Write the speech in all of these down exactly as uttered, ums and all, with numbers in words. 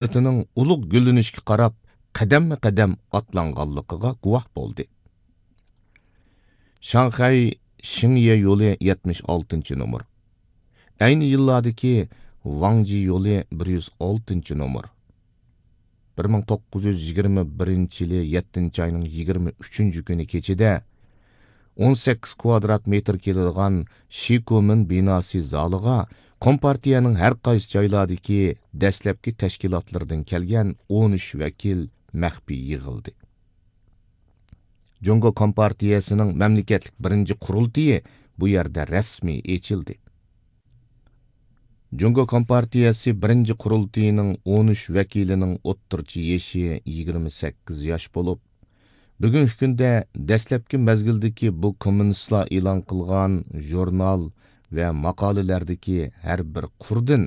مىللىتىنىڭ ئۇلۇغ گۈللىنىشكە قاراپ قەدەممۇ قەدەم ئاتلانغانلىقىغا گۇۋاھ بولدى. شاڭخەي شىڭيې يولى يەتمىش ئالتىنچى نومۇر. ئەينى يىللاردىكى ۋاڭجى يولى بىر يۈز ئالتىنچى نومۇر. بىر مىڭ توققۇز يۈز يىگىرمە بىرىنچى يىلى يەتتىنچى ئاينىڭ يىگىرمە ئۈچىنچى كۈنى كېچىدە ئون سەككىز كۋادرات مېتىر كېلىدىغان شىكومىن بىناسى زالىغا كومپارتىيەنىڭ ھەر قايسى جايلاردىكى دەسلەپكى تەشكىلاتلىرىدىن كەلگەن ئون ئۈچ ۋەكىل مەخپىي يىغىلدى. جۇڭگو كومپارتىيەسىنىڭ مەملىكەتلىك بىرىنچى قۇرۇلتىيى بۇ يەردە رەسمىي ئېچىلدى. جۇڭگو كومپارتىيەسى بىرىنچى قۇرۇلتىيىنىڭ ئون ئۈچ ۋەكىلىنىڭ ئوتتۇرىچە يېشى يىگىرمە سەككىز ياش بولۇپ، بۈگۈنكى كۈندە دەسلەپكى مەزگىلدىكى بۇ كوممۇنىستلار ئېلان قىلغان ژۇرنال ۋە ماقالىلەردىكى ھەر بىر قۇردىن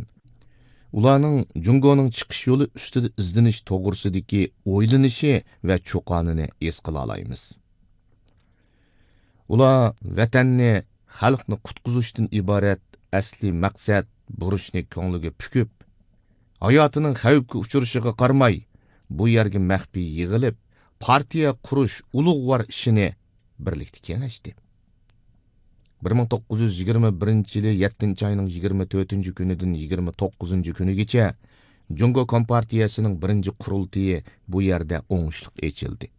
ئۇلارنىڭ جۇڭگونىڭ چىقىش يولى ئۈستىدە ئىزدىنىش توغرىسىدىكى ئويلىنىشى ۋە چۇقانىنى ھېس قىلالايمىز. ئۇلار ۋەتەننى، خەلقنى قۇتقۇزۇشتىن ئىبارەت ئەسلىي مەقسەت، بۇرچنى كۆڭلىگە پۈكۈپ، ھاياتىنىڭ خەۋپكە ئۇچرىشىغا قارىماي، بۇ يەرگە مەخپىي يىغىلىپ، پارتىيە قۇرۇش ئۇلۇغۋار ئىشىنى بىرلىكتە كېڭەشتى. بىر مىڭ توققۇز يۈز يىگىرمە بىرىنچى يىلى يەتتىنچى ئاينىڭ يىگىرمە تۆتىنچى كۈنىدىن يىگىرمە توققۇزىنچى كۈنىگىچە جۇڭگو كومپارتىيەسىنىڭ بىرىنچى قۇرۇلتىيى بۇ يەردە ئوڭۇشلۇق ئېچىلدى.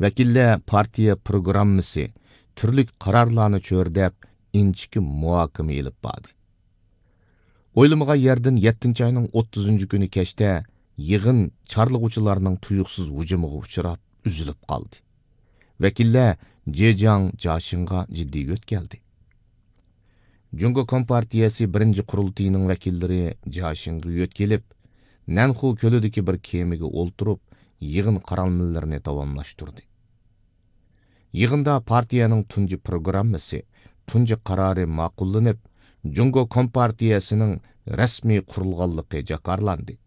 ۋەكىللەر پارتىيە پروگراممىسى، تۈرلۈك قارارلارنى چۆرىدەپ، ئىنچىكە مۇھاكىمە ئېلىپ باردى. ئويلىمىغان يەردىن يەتتىنچى ئاينىڭ ئوتتۇزىنچى كۈنى كەچتە يىغىن چارلىغۇچىلارنىڭ تۇيۇقسىز ھۇجۇمىغا ئۇچراپ، ئۈزۈلۈپ قالدى. ۋەكىللەر جېجياڭ جياشىڭغا جىددىي يۆتكەلدى. جۇڭگو كومپارتىيەسى بىرىنچى قۇرۇلتىيىنىڭ ۋەكىللىرى جياشىڭغا يۆتكىلىپ، نەنخۇ كۆلىدىكى بىر كېمىگە ئولتۇرۇپ، يىغىن قارالمىلىرىنى داۋاملاشتۇردى. يىغىندا پارتىيەنىڭ تۇنجى پروگراممىسى، تۇنجى قارارى ماقۇللىنىپ، جۇڭگو كومپارتىيەسىنىڭ رەسمىي قۇرۇلغانلىقى جاكارلاندى.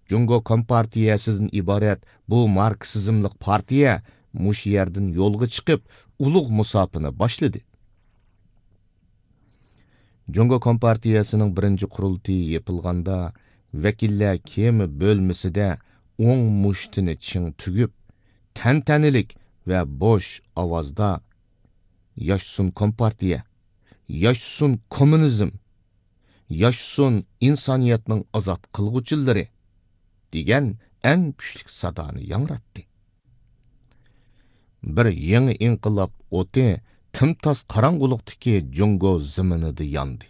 جۇڭگو كومپارتىيەسىدىن ئىبارەت بۇ ماركسىزملىق پارتىيە مۇشۇ يەردىن يولغا چىقىپ، ئۇلۇغ مۇساپىنى باشلىدى. جۇڭگو كومپارتىيەسىنىڭ بىرىنچى قۇرۇلتىيى يېپىلغاندا، ۋەكىللەر كېمە بۆلمىسىدە ئوڭ مۇشتىنى چىڭ تۈگۈپ، تەنتەنىلىك ۋە بوش ئاۋازدا، «ياشىسۇن كومپارتىيە! ياشىسۇن كوممۇنىزم! ياشىسۇن ئىنسانىيەتنىڭ ئازاد قىلغۇچىلىرى!» دېگەن ئەڭ كۈچلۈك سادانى ياڭراتتى. بىر يېڭى ئىنقىلاب ئوتى تىمتاس قاراڭغۇلۇقتىكى جۇڭگو زېمىنىدا ياندى.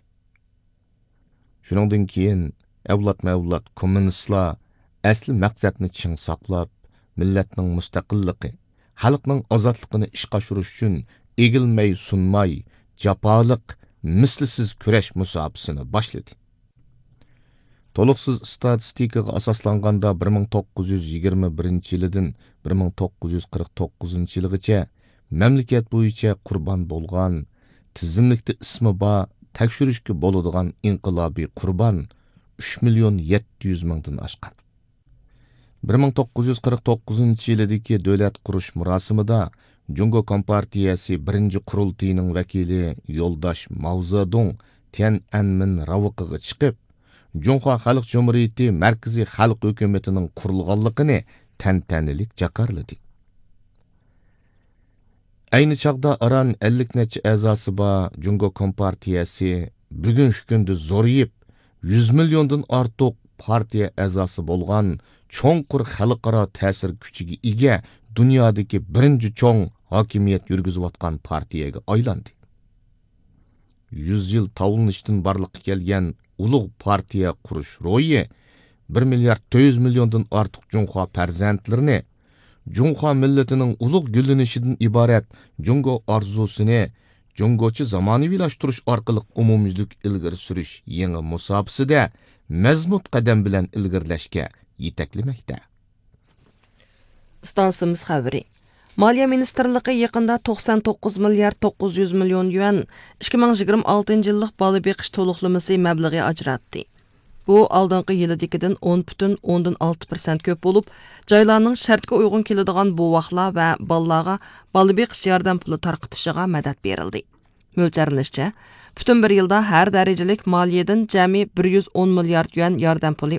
شۇنىڭدىن كېيىن ئەۋلادمۇ ئەۋلاد كوممۇنىستلار ئەسلى مەقسەتنى چىڭ ساقلاپ، مىللەتنىڭ مۇستەقىللىقى، خەلقنىڭ ئازادلىقىنى ئىشقا ئاشۇرۇش ئۈچۈن ئېگىلمەي سۇنماي، جاپالىق، مىسلىسىز كۈرەش مۇساپىسىنى باشلىدى. تولۇقسىز ئىستاتىستىكىغا ئاساسلانغاندا، بىر مىڭ توققۇز يۈز يىگىرمە بىرىنچى يىلىدىن بىر مىڭ توققۇز يۈز قىرىق توققۇزىنچى يىلغىچە مەملىكەت بويىچە قۇربان بولغان، تىزىملىكتە ئىسمى بار، تەكشۈرۈشكە بولىدىغان ئىنقىلابىي قۇربان ئۈچ مىليون يەتتە يۈز مىڭدىن ئاشقان. بىر مىڭ توققۇز يۈز قىرىق توققۇزىنچى يىلىدىكى دۆلەت قۇرۇش مۇراسىمىدا جۇڭگو كومپارتىيەسى بىرىنچى قۇرۇلتىيىنىڭ ۋەكىلى يولداش ماۋزېدۇڭ تيەنئەنمېن راۋىقىغا چىقىپ، جۇڭخۇا خەلق جۇمھۇرىيىتى مەركىزىي خەلق ھۆكۈمىتىنىڭ قۇرۇلغانلىقىنى تەنتەنىلىك جاكارلىدى. ئەينى چاغدا ئاران ئەللىك نەچچە ئەزاسى بار جۇڭگو كومپارتىيەسى بۈگۈنكى كۈندە زورىيىپ، يۈز مىليوندىن ئارتۇق پارتىيە ئەزاسى بولغان، چوڭقۇر خەلقئارا تەسىر كۈچىگە ئىگە، دۇنيادىكى بىرىنچى چوڭ ھاكىمىيەت يۈرگۈزۈۋاتقان پارتىيەگە ئايلاندى. يۈز يىل تاۋلىنىشتىن بارلىققا كەلگەن ئۇلۇغ پارتىيە قۇرۇش روھى بىر مىليارد تۆت يۈز مىليوندىن ئارتۇق جۇڭخۇا پەرزەنتلىرىنى، جۇڭخۇا مىللىتىنىڭ ئۇلۇغ گۈللىنىشىدىن ئىبارەت جۇڭگو ئارزۇسىنى جۇڭگوچە زامانىۋىلاشتۇرۇش ئارقىلىق ئومۇميۈزلۈك ئىلگىرى سۈرۈش يېڭى مۇساپىسىدە مەزمۇت قەدەم بىلەن ئىلگىرىلەشكە يېتەكلىمەكتە. ئىستانسىمىز خەۋىرى. مالىيە مىنىستىرلىقى يېقىندا توقسان توققۇز مىليارد توققۇز يۈز مىليون يۈەن، ئىككى مىڭ يىگىرمە ئالتىنچى يىللىق بالا بېقىش تولۇقلىمىسى مەبلىغى ئاجراتتى. بۇ ئالدىنقى يىلىدىكىدىن ئون پۈتۈن ئوندىن ئالتە پىرسەنت كۆپ بولۇپ، جايلارنىڭ شەرتكە ئۇيغۇن كېلىدىغان بوۋاقلار ۋە بالىلارغا بالا بېقىش ياردەم پۇلى تارقىتىشىغا مەدەت بېرىلدى. مۆلچەرلىنىشىچە، پۈتۈن بىر يىلدا ھەر دەرىجىلىك مالىيىدىن جەمئىي بىر يۈز ئون مىليارد يۈەن ياردەم پۇلى